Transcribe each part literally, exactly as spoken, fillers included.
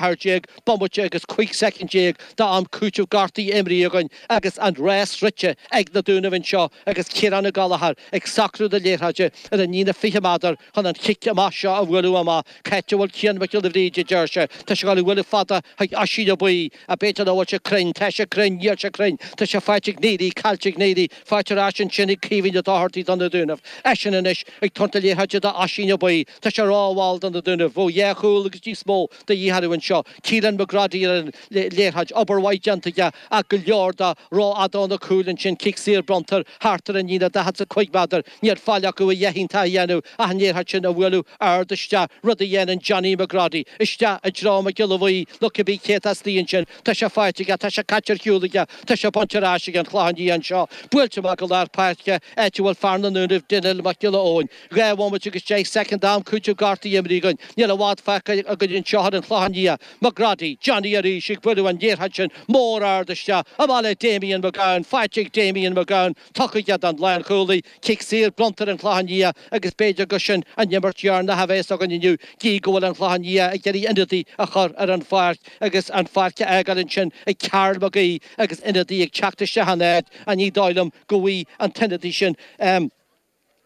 ceathair déag bomaite agus cúig soicind déag d'am cúiteamh gortaithe imrithe againn agus an rás rite ag na Dúnaibh anseo agus Ciarán Ó Gallchóir ag socrú na liathróide ar an líne fiche méadar chun an chic amach seo a bhualadh amach. Cá háit a bhfuil Cian Mac Giolla Bhríde, a deir sé. Tá sé ag dul a bhualadh fada chuig Oisín Ó Baoill ach b'fhéidir nach bhfuil sé cruinn. Tá sé cruinn, níl sé cruinn. Tá sé faighte ag Neary, caillte ag Neary, faighte ar ais ansin ag Caoimhín Ó Dochartaigh do na Dúnaibh. Eisean anois ag tabhairt na liathróide d'Oisín Ó Baoill. Tá sé rómhall do na Dúnaibh. Bheadh dhá chúl agus níos mó de dhíth orthu anseo. Keelan McGroddy ar an liathróid, obair mhaith déanta aige ach go leor de rófhada ó na cúil ansin. Cic saor bronnta air thart ar an líne daichead is a cúig méadar. Níl faill acu a dhath iontach a dhéanamh ach an liathróid sin a bhualadh ard isteach, rud a dhéanann Johnny McGroddy. Isteach i dtreo Mac Giolla Bhuí nó cibé cé atá istigh ansin. Tá sé faighte aige, tá sé caite ar shiúl aige, tá sé bainte ar ais ag an Chlochán Liath anseo. Buailte amach go lár páirce, áit a bhfuil fear na nDúnaibh, Daniel Mac Giolla Eoin. Dhá bhomaite agus deich soicind d'am cúiteamh gortaithe imrithe againn. Níl i bhfad fágtha againn anseo ar an Chlochán Liath. McGroddy, Johnny arís ag bualadh an liathróid sin mór ard isteach. Amach le Damien McGowan, faighte ag Damien McGowan, tugtha aige don lánchúlaí. Cic saor bronnta ar an Chlochán Liath agus b'fhéidir gur sin an imirt dheireanach a bheas againn inniu. Gí go bhfuil an Clochán Liath ag iarraidh ionadaí a chur ar an pháirc agus an pháirc a fhágáil ansin ag Karl McGee agus ionadaí ag teacht isteach ina áit ach ní dóigh liom go bhfaighidh an t-ionadaí sin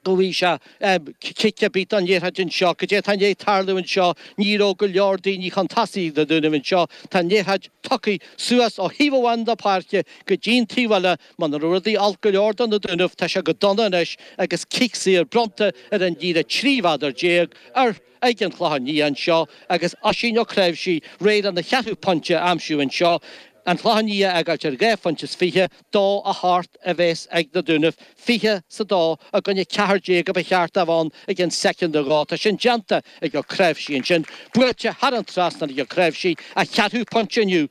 go bhfaighidh sé cic ar bith don liathróid anseo. Cad é atá i ndiaidh tarlú anseo? Ní raibh go leor daoine chun tosaigh ag na Dúnaibh anseo. Tá an liathróid tugtha suas ó thaobh amháin na páirce go dtí'n taobh eile. Muna raibh rudaí olc go leor do na Dúnaibh, tá sé go dona anois agus cic saor bronnta ar an líne trí mhéadar déag ar ag an Chlochán Liath anseo agus Oisín Ó Cnáimhsí réidh lena cheathrú pointe a aimsiú anseo. An Clochán Liath a fhágáilt ar dhá phointe is fiche, dó a hocht a bheas ag na Dúnaibh, fiche is a dó i gcoinne ceathair déag a ba cheart a bheith ann i gcionn soicind nó dhó. Tá sin déanta ag Ó Cnáimhsí ansin. Buailte thar an trasnán ag Ó Cnáimhsí, a cheathrú pointe inniu.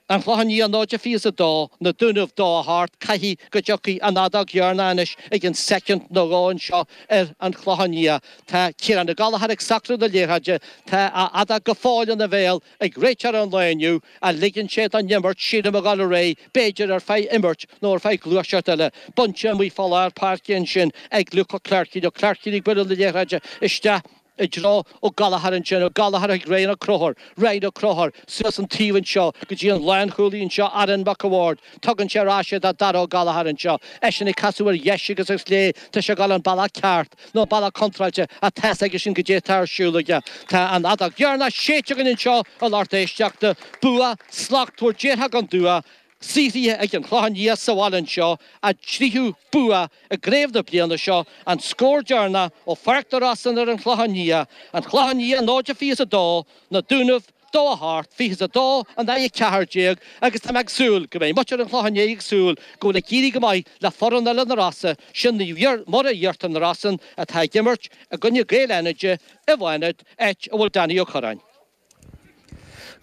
An Clochán Liath náid a fiche is a dó, na Dúnaibh dó a hocht, caithfidh go dtiocfaidh an fheadóg dheireanach anois i gcionn soicind nó dhó anseo ar an Chlochán Liath. Tá Ciarán Ó Gallchóir ag socrú na liathróide, tá a fheadóg go fóill ina bhéal ag réiteoir an lae inniu, ach ligeann sé don imirt sílim a dhul ar aghaidh, b'fhéidir ar feadh imirt nó ar feadh gluaiseacht eile. Bainte amuigh fá lár páirce ansin ag Luke Ó Cleircín, Ó Cleircín ag bualadh na liathróide isteach i dtreo Ó Gallchóir ansin, Ó Gallchóir chuig Ryan Ó Conchúir, Ryan Ó Conchúir suas an taobh anseo go dtí an lánchúlaí anseo, Aaron Mac a' Bhaird. Tugann sé ar ais é do Dara Ó Gallchóir anseo. Eisean ag casadh ar dheis agus ar chlé, tá sé ag dul an bealach ceart, nó an bealach contráilte, ach tá's aigesean goidé atá ar siúl aige. Tá an fheadóg dheireanach séidte againn anseo, a lucht éisteachta. Bua slachtmhar déarfá gan dua. Saothraithe ag an Chlochán Liath sa bhaile anseo, a dtríú bua i gcraobh na bliana seo, an scór deireanach ó Pháirc na Rosann ar an Chlochán Liath, An Clochán Liath náid a fiche is a dó, Na Dúnaibh dó a hocht, fiche is a dó in aghaidh a ceathair déag, agus tá mé ag súil go mbeidh muintir an Chlocháin Léith ag súil go bhfuil ag éirí go maith le foireann eile na Rosa, sin Naomh Muire Iarthar na Rosann atá ag imirt i gcoinne Gaeil Fhánaide i bhFánaid, áit a bhfuil Danny Ó Curráin.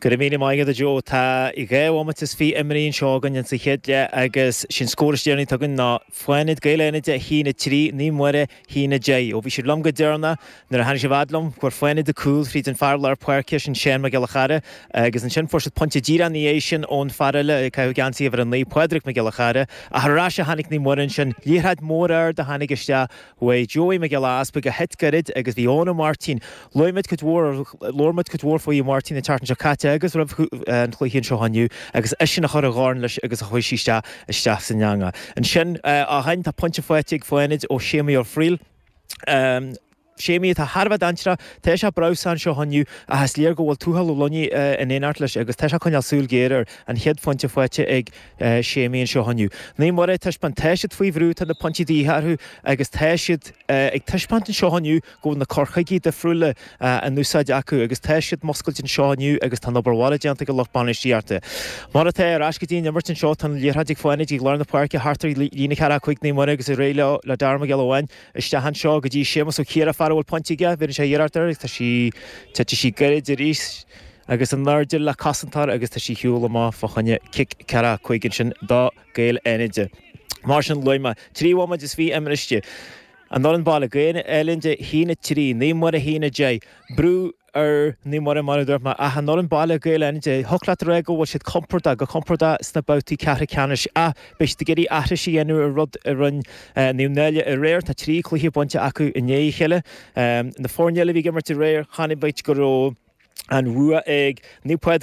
Go raibh míle maith agat a Joe. Tá dhá bhomaite is fiche imrithe anseo againn insa chéad leath agus sin scór is deireanaí atá againn ná Fánaid, Gaeil Fhánaide a haon a trí, Naomh Muire a haon a deich. Ó bhí sibh liom go deireanach nuair a tháinig sibh fhad liom, fuair Fánaid an cúl fríd an fear lár páirce sin Seán Mac Giolla Chara agus ansin fuair siad pointe díreach ina dhiaidh sin ón fear eile ag caitheamh geansaí uimhir a naoi, Pádraig Mac Giolla Chara. Ach ar ais a tháinig Naomh Muire ansin, liathróid mór ard a tháinig isteach uaidh Joey Mac Giolla Easpaig a thit gairid agus bhí Eoin Ó Máirtín. Luaigh muid cuid mhór, labhair muid cuid mhór faoi Ó Máirtín an tseachtain seo caite agus roimh an chluiche anseo inniu agus eisean a chuir a dhorn leis agus a chuaigh sí isteach isteach san eangach. Ansin ó shin tá pointe faighte ag Fánaid ó Séamaí Ó Frighil. Séamaí atá thar a bheith dainséarach, tá sé breabhsán anseo inniu ach is léir go bhfuil Tuathal Ó Loinigh in éineacht leis agus tá sé ag coinneáil súil ghéar air. An chéad phointe faighte ag Séamaí anseo inniu. Naomh Muire ag taispeáint, tá siad faoi bhrú, tá na pointí de dhíth orthu agus tá siad ag taispeáint anseo inniu go bhfuil na cur chuigí difriúla in úsáid acu agus tá siad muscailte anseo inniu agus tá an obair mhaith déanta ag an lucht bainistíochta. Mar atá, ar ais go dtí an imirt anseo, tá an liathróid ag Fánaid ag lár na páirce thart ar líne ceathracha cúig Naomh Muire agus ar aghaidh leo le Dara Mac Giolla Bháin isteach anseo go dtí Séamus Ó Ciardha, fear a bhfuil pointe aige, bheireann sé iarracht air agus tá sí, titfidh sí gairid arís agus in airde le cosantóir agus tá sí ar shiúl amach fá choinne cic ceathracha cúig ansin do Gaeil Fhánaide. Mar sin, luaigh mé trí bhomaite is fiche imeartha. An fhoireann baile, Gaeil Fhánaide a haon a trí, Naomh Muire a haon a deich. Brú ar Naomh Muire mar a dúirt mé, ach an fhoireann baile, Gaeil Fhánaide, thiocfadh leat a rá go bhfuil siad compordach, go compordach sna babhtaí ceathrú ceannais ach beidh siad ag iarraidh aithris a dhéanamh ar rud a rinne Naomh Náille aréir. Tá trí chluiche bainte acu i ndiaidh a chéile. Na foirne eile a bhí ag imirt aréir, chonaic muid go raibh. An bhua ag Naomh Pádraig.